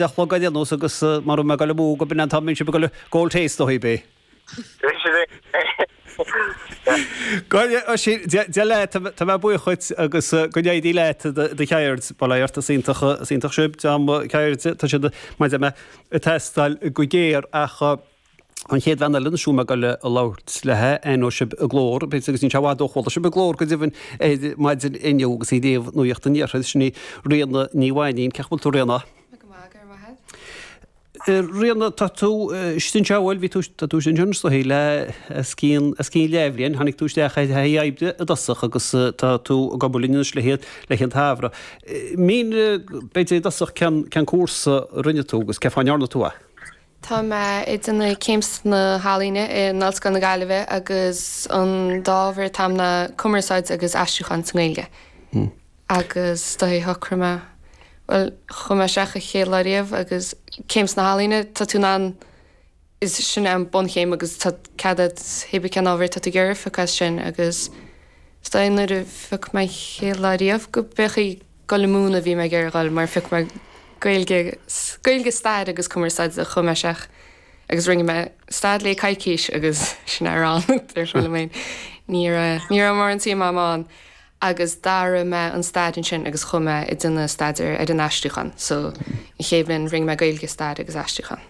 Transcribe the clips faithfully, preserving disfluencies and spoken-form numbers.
a chlog ar aon nós agus mara raibh mé ag goil amú go b'in an t-am a mbíonn sibh ag goil ag ól tae is dóigh bé. Dia leat, tá mé buíoch dhuit agus go n-éirí leat i do cheird. Bail ó Dhia ort, is iontach, is iontach sibh, dream ceirde, tá siad mar a deir mé ag teastáil go géar ach an chéad bhean eile anois a bhfuil mé ag goil a labhairt léi, aithneoidh sibh a glór, b'fhéidir agus níl sé i bhfad ó chuala sibh a glór go deimhin ar maidin inniu agus í ag léamh Nuacht an Iarthair, sin í Ríona Ní Mhainín. Cén chaoi a bhfuil tú Ríona? Go maith, go raibh maith agat. Ríona, tá tú istigh anseo, bhuel, bhí tú, tá tú istigh anseo anois dóichí le os cionn, os cionn leathbhliain, tháinig tú isteach ar thaithí oibre i dtosach agus tá tú ag obair linn anois le haghaidh, le haghaidh an tsamhraidh. Mínigh, b'fhéidir i dtosach, cén, cén cúrsa a rinne tú agus cén fáth a ndearna tú é? Tá mé ag déanamh céim sna healaíona in Ollscoil na Gaillimhe agus an dá ábhar atá a'm ná cumarsáid agus aistriúchán sa nGaeilge. Agus do shocraigh mé, bhuel, chuaigh mé isteach an chéad lá riamh agus céim sna healaíona, tá tú in ann, is sin é an bunchéim agus tá cead agat hé bith cén ábhar atá tú ag iarraidh a phiocadh as sin agus is dóigh nuair a phioc mé an chéad lá riamh go b'é dul ag múineadh a bhí mé ag iarraidh dhul mar phioc mé Gaeilge, Gaeilge, Stair agus Cumarsáid a chuaigh mé isteach agus rinne mé stair léi coicís agus sin é a raibh ann, dar liom féin. Ní raibh, ní raibh mórán suim a'm ann. Agus d'athraigh mé an stair ansin agus chuaigh mé ag déanamh staidéar ar an aistriúchán. So, an chéad bhliain rinne mé Gaeilge, Stair agus Aistriúchán.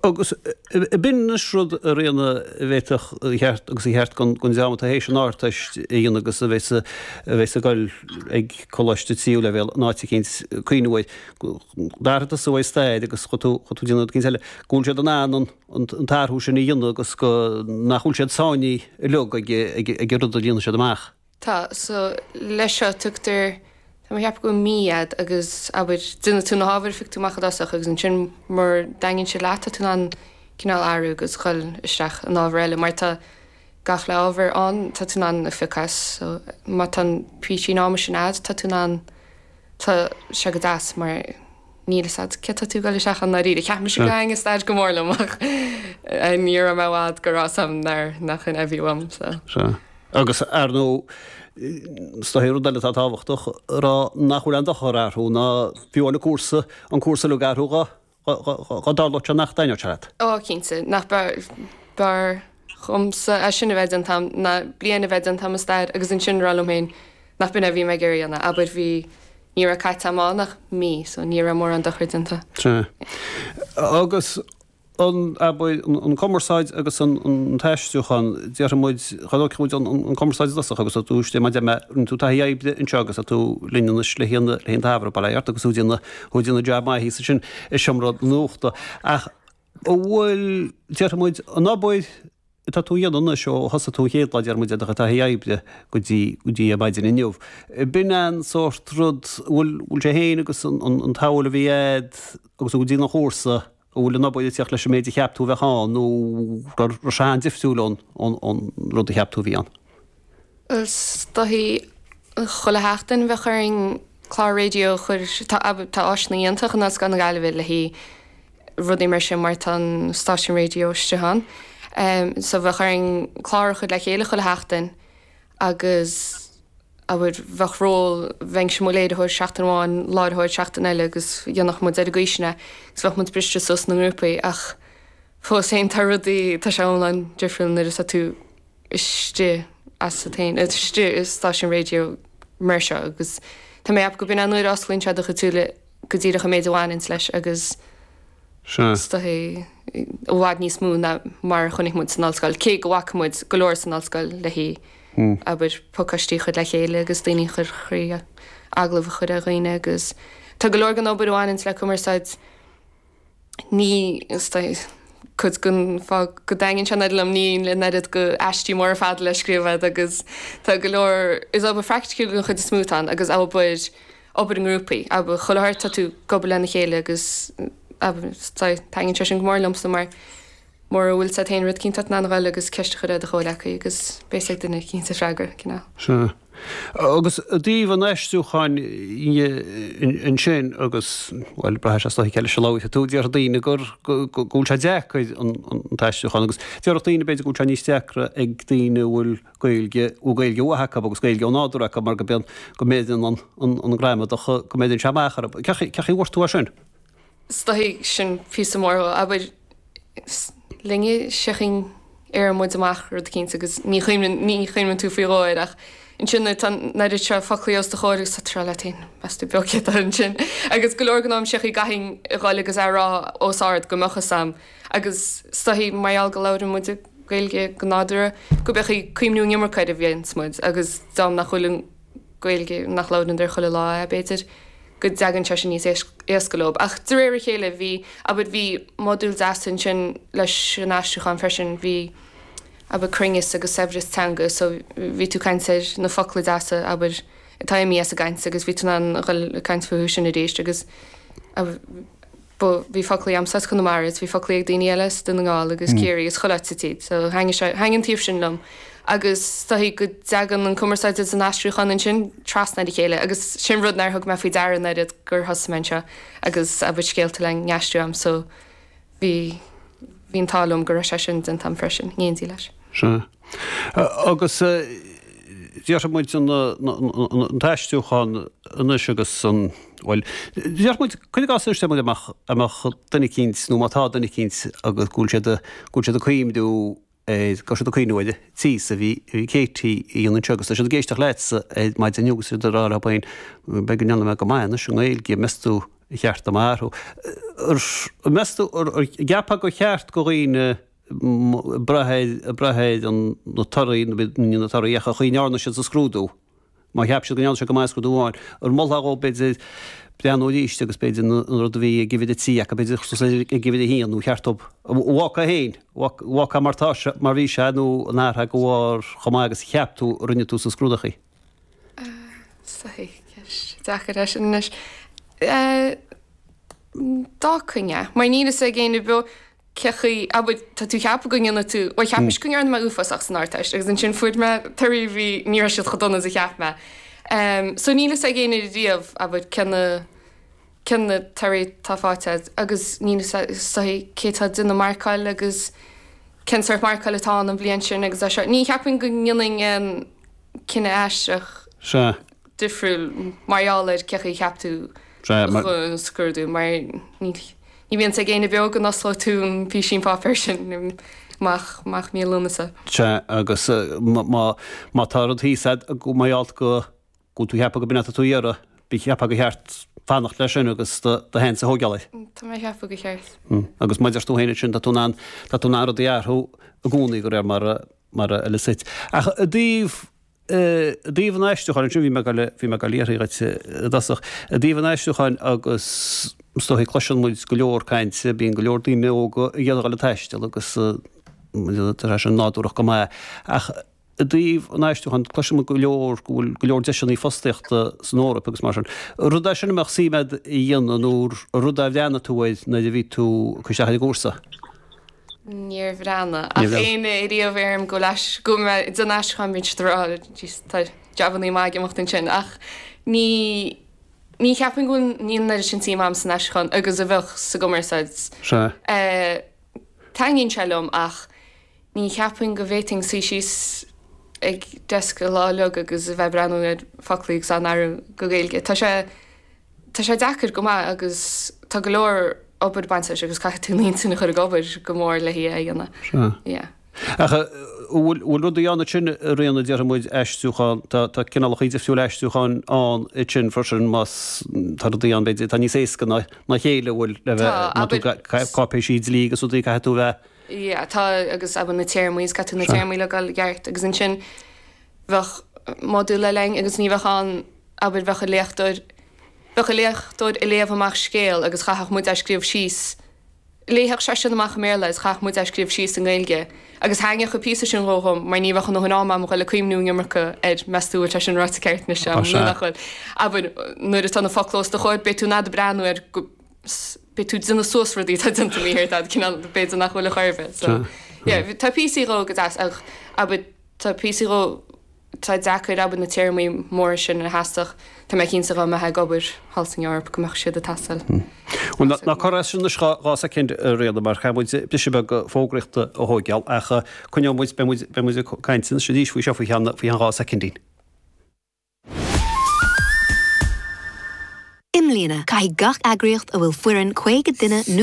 Agus b'in anois rud a Ríona a bhféadfadh a cheart agus a cheart don dream atá théis an Ardteist a dhéanamh agus a bheas a bheas ag dul ag coláiste tríú leibhéal in áit eicínt cuimhneamh air. D'athraigh tusa uaidh stair agus chuaigh tú chuaigh tú ag déanamh rud eicínt eile. Go bhfuil siad in ann an an t-athrú sin a dhéanamh agus go nach bhfuil siad sáinnithe uilig ag ag an rud a líonfaidh siad amach. Tá, so leis seo tugtar, tá mé ag ceapadh go bhfuil mí a'd agus abair, déanfaidh tú na hábhair a phioc tú amach i dtosach agus ansin mura dtaitníonn siad leat tá tú in ann cineál athrú agus dhul isteach in ábhar eile mar tá gach uile ábhar ann tá tú in ann a phiocadh as so má tá an píosaín ama sin a'd tá tú in ann, tá sé go deas mar níl fhios a'd céard tá tú ag dul isteach ann ndáiríre. Cheap mise go dtaitneodh stair go mór liom ach ní raibh mé i bhfad go raibh fhios a'm nár, nach in é a bhí uaim so. Sea. Agus, ar ndóigh, is dóichí rud eile atá tábhachtach a rá nach bhfuil aon dochar athrú ná fiú amháin an cúrsa, an cúrsa uilig a athrú dá dtarlódh sé nach dtaitneodh sé leat. Ó, cinnte, nach b'fhearr dhomsa é sin a bheith déanta a'm ná bliain a bheith déanta a'm i stair agus ansin rá liom féin nach b'in é a bhí mé ag iarraidh a dhéanamh. Abair bhí, ní raibh caite a'm ann ach mí so ní raibh mórán dochair déanta. Sea. Agus an, abair, an cumarsáid agus an t-aistriúchán, déarfaidh muid, cha dtógfaidh muid an cumarsáid i dtosach agus tá tú istigh, mar a deir mé, rinne tú taithí oibre anseo agus tá tú linn anois le haghaidh an tsamhraidh, bail ó Dhia ort agus tú ag déanamh, tú ag déanamh jab maith thíos ansin i seomra nuachta. Ach an bhfuil, déarfaidh muid, an obair atá tú a dhéanamh anois ó thosaigh tú an chéad lá, déarfaidh muid, ar do chuid taithí oibre go dtí, go dtí ar maidin inniu, b'in an sórt rud, bhfuil, bhfuil sé féin agus an, an tsamhail a bhí a'd agus tú ag déanamh an chúrsa, an bhfuil an obair ag teacht leis an méid a cheap tú a bheadh ann nó raibh sé an-difriúil ón, ón, ón rud a cheap tú a bhí ann? Is dóichí chuile sheachtain bheadh orainn clár raidió a chur, tá, tá áiseanna iontacha in Ollscoil na Gaillimhe le haghaidh rudaí mar sin mar tá an stáisiún raidió istigh ann. So bheadh orainn clár a chur le chéile chuile sheachtain agus abair bheadh ról, bheinnse i mo léiritheoir seachtain amháin, láithreoir seachtain eile agus dhéanfadh muid ar an gcaoi sin é agus bheadh muid briste suas ina ngrúpaí ach fós féin tá rudaí, tá sé iomlán difriúil nuair atá tú istigh asat féin, istigh i stáisiún raidió mar seo agus tá mé ag ceapadh go b'in an uair a osclaíonn sé do chuid súile go díreach an méid a bhaineanns leis agus is dóichí i bhfad níos mó ná mar a chonaic muid san ollscoil, cé go bhfaca muid go leor san ollscoil le haghaidh, abair, pacáistí a chur le chéile agus daoine a chur thrí agallamh a chur ar dhaoine agus tá go leor den obair a bhaineanns le cumarsáid ní, is dóichí, cuid den fáth go dtaitníonn sé an oiread liom, níl an oiread go aistí móra fada le scríobh agat agus tá go leor, is obair phraiticiúil den chuid is mó atá ann agus obair, obair i ngrúpaí, abair, chuile shórt tá tú ag obair lena chéile agus, abair, taitníonn sé sin go mór liomsa mar mura bhfuil fhios agat féin rud eicínt tá tú in ann a dhul agus ceist a chur ar do chomhghleacaí agus beidh fhios ag duine eicínt an freagra, cineál. Sea. Agus i dtaobh an aistriúcháin ansin agus, bhuel, braitheann sé is dóiche cé leis a labhróidh tú, déarfaidh daoine gur, go bhfuil sé deacair an t-aistriúchán agus déarfadh daoine b'fhéidir go bhfuil sé níos deacra ag daoine a bhfuil Gaeilge, bhfuil Gaeilge mhaith acu agus Gaeilge ó nádúr acu mar go mbíonn, go mbeireann an, an, an gramadach, go mbeireann sé amach orthu. Cén chaoi, cén chaoi a bhfuair tú é sin? Is dóichí sin píosa mór dhó. Abair, linne seachinn ar muid amach rud eicínt agus ní chuimhneann ní chuimhneann tú faoi dhó air ach ansin nuair atá an oiread seo foclaí os do chomhair agus tá tú ag rá leat féin, meas tú beo cé atá ansin? Agus go leor den am sé chaoi gcaithfinn a dhul agus é a rá os ard go mbeadh fhios a'm agus is dóichí mar gheall go labhrann muid Gaeilge go nádúrtha go mbeadh ag cuimhniú an iomarca air a bhíonns muid agus dá nach bhfuil an Ghaeilge nach labhrann ar chuile lá é b'fhéidir go dtagann sé sin níos éasca leo. Ach de réir a chéile bhí, abair, bhí modúl deas ansin leis an aistriúchán freisin, bhí, abair, cruinneas agus saibhreas teanga so bhí tú ag caint ar na focla deasa, abair, atá imithe as an gcaint agus bhí tú in ann a dhul ag caint fúthu sin arís agus, abair, Ba, bhí foclaí a'msa as Conamara is bhí foclaí ag daoine eile as Dún na nGall agus Ciarraí agus chuile áit sa tír so thaitnigh sé, thaitnigh an taobh sin liom agus is dóichí go dtagann an cumarsáid is an aistriúchán ansin trasna ar a chéile agus sin rud nár thug mé faoi deara an oiread gur thosaigh mé anseo agus abair scéalta le n-aistriú a'm so bhí, bhí an t-ádh liom go raibh sé sin déanta a'm freisin, in éindí leis. Sea. Agus déarfaidh muid an t-aistriúchán anois agus an, bhuel, déarfaidh muid, cuir i gcás anois dá mbeadh, dá mbeadh duine eicínt nó má tá duine eicínt agus go bhfuil siad, go bhfuil siad ag cuimhniú ar, go bhfuil siad ag cuimhniú ar an tíos a bhí, a bhí Katie a dhéanamh anseo agus tá siad ag éisteacht leatsa ar maidin inniu agus siad ag rá leo féin, b'fhéidir go ndéanfaidh mé go maith anois i nGaeilge, meas tú ar cheart dom athrú? Meas tú, an gceapfá gur cheart do dhaoine brath ar, brath ar na torthaí, ní na torthaí ach an chaoi a ndearna siad sa scrúdú. Má cheap siad go ndearna siad go maith sa scrúdú amháin, an molfá dhóibh b'fhéidir breathnú arís agus b'fhéidir an rud a bhí ag uimhir a trí acu b'fhéidir a chur suas ag uimhir a haon nó cheart dóibh, an bhfágfá féin, bhfágfá mar tá sé, mar bhí sé nó an athrófá de bharr chomh maith agus a cheap tú a rinne tú sa scrúdachaí? Ceist deacair é sin anois. D'fhágfainn é, mar níl fhios ag éinne beo cé chaoi, abair, tá tú ag ceapadh go ndéanfaidh tú, bhuel cheap mise go ndearna mé uafásach san Ardteist agus ansin fuair mé torthaí bhí, ní raibh siad chomh dona is a cheap mé. So níl fhios ag éinne riamh, abair, cé na, cé na torthaí atá faighte agat agus níl fhios ag cé atá ag déanamh marcáil agus cén sórt marcáil atá ann an bhliain sin agus é seo. Ní cheapaim go ndéanfainn aon cinneadh aisteach Sea. difriúil mar gheall ar cé chaoi a cheap tú Sea, mar. an scrúdú mar ní Ní bhíonn fhios ag éinne beo go n-osclóidh tú an písín páipéir sin amach amach mí Lúnasa. Sea, agus má má tá rud thíos a'd go mar gheall go go bhfuil tú ag ceapadh go b'in atá tú a iarraidh, bí cheapfá gur cheart fanacht leis sin agus do do sheans a thógáil air. Tá mé ag ceapadh gur cheart. Agus mar a deir tú féin ansin, tá tú in ann tá tú in ann rudaí a athrú i gcónaí de réir mar a mar a fheileas duit. Ach i dtaobh I dtaobh an aistriúcháin, ansin bhí mé ag dul, bhí mé ag dul a fhiafraí dhuit i dtosach, i dtaobh an aistriúcháin agus is dóigh cloiseann muid go leor cainte, bíonn go leor daoine óga ag iarraidh a dhul ag taisteal agus tá sé sin nádúrach go maith ach i dtaobh an aistriúcháin cloiseann muid go leor go bhfuil go leor deiseanna fostaíochta san Eoraip agus mar sin. Rud é sin a mbeadh suim agat a dhéanamh nó rud a bhreathnaigh tú air nuair a bhí tú ag cur isteach ar an gcúrsa? Níor bhreathnaigh ach éinne ariamh a deirim go bhfuil go bhfuil mé ag déanamh aistriúcháin bíonn siad ag rá jeez tá jabannaí maith ag imeacht ansin ach ní ní cheapaim go bhfuil níl an oiread sin suim agam san aistriúchán agus a bheadh sa gcumarsáid. Sea. Taitníonn sé liom ach ní cheapaim go bhféadfainn suí síos ag desk an lá uilig agus a bheith ag breathnú ar foclaí agus á n-athrú go Gaeilge. Tá sé Tá sé deacair go maith agus tá go leor obair bainte leis agus caithfidh tú an intinn a chur ag obair go mór le hí a dhéanamh. Sea. Yeah. Ach an bhfuil bhfuil rudaí ann ansin a Ríona déarfaidh muid aistriúchán, tá tá cineálacha difriúil aistriúcháin ann ansin freisin más tá rudaí ann b'fhéidir atá níos éasca ná ná a chéile an bhfuil le bheith Tá, má tú abair cáipéisí dlí agus rudaí caithfidh tú a bheith Yeah, tá agus abair na téarmaí is caithfidh tú na Sea. téarmaí le gabháil i gceart agus ansin bheadh modúl eile againn agus ní bheadh ann abair bheadh an léachtóir Bheadh an léachtóir ag léamh amach scéal agus chaithfeadh muid é scríobh síos. Léifeadh seisean amach i mBéarla agus chaithfeadh muid é scríobh síos i nGaeilge. Agus thaitneodh an píosa sin dhó dhom mar ní bheadh a ndóthain ama agam a dhul ag cuimhniú an iomarca ar meas tú bhfuil sé sin ráite ceart anois agam nó nach bhfuil. Abair, nuair atá na focla os do chomhair beidh tú in ann breathnú air go beidh tú ag déanamh suas rudaí atá déanta mícheart agat cineál b'fhéidir nach bhfuil ar chor ar bith. So, yeah, tá píosaí dhó go deas ach abair tá píosaí dhó Tá deacair, abair, na téarmaí móra sin a theastódh. Tá mé cinnte dá mbeifeá ag obair thall san Eoraip go mbeadh siad ag teastáil. Bhuel, ná cuir as sin anois dhá soicind, a Ríona, mar caithfidh muid briseadh beag fógraíochta a thóigeáil, ach coinneoidh muid, beidh muid, beidh muid ag caint anois arís faoi seo faoi cheann, faoi cheann dhá soicindín. I I mbliana caithfidh gach eagraíocht a bhfuil foireann caoga duine nó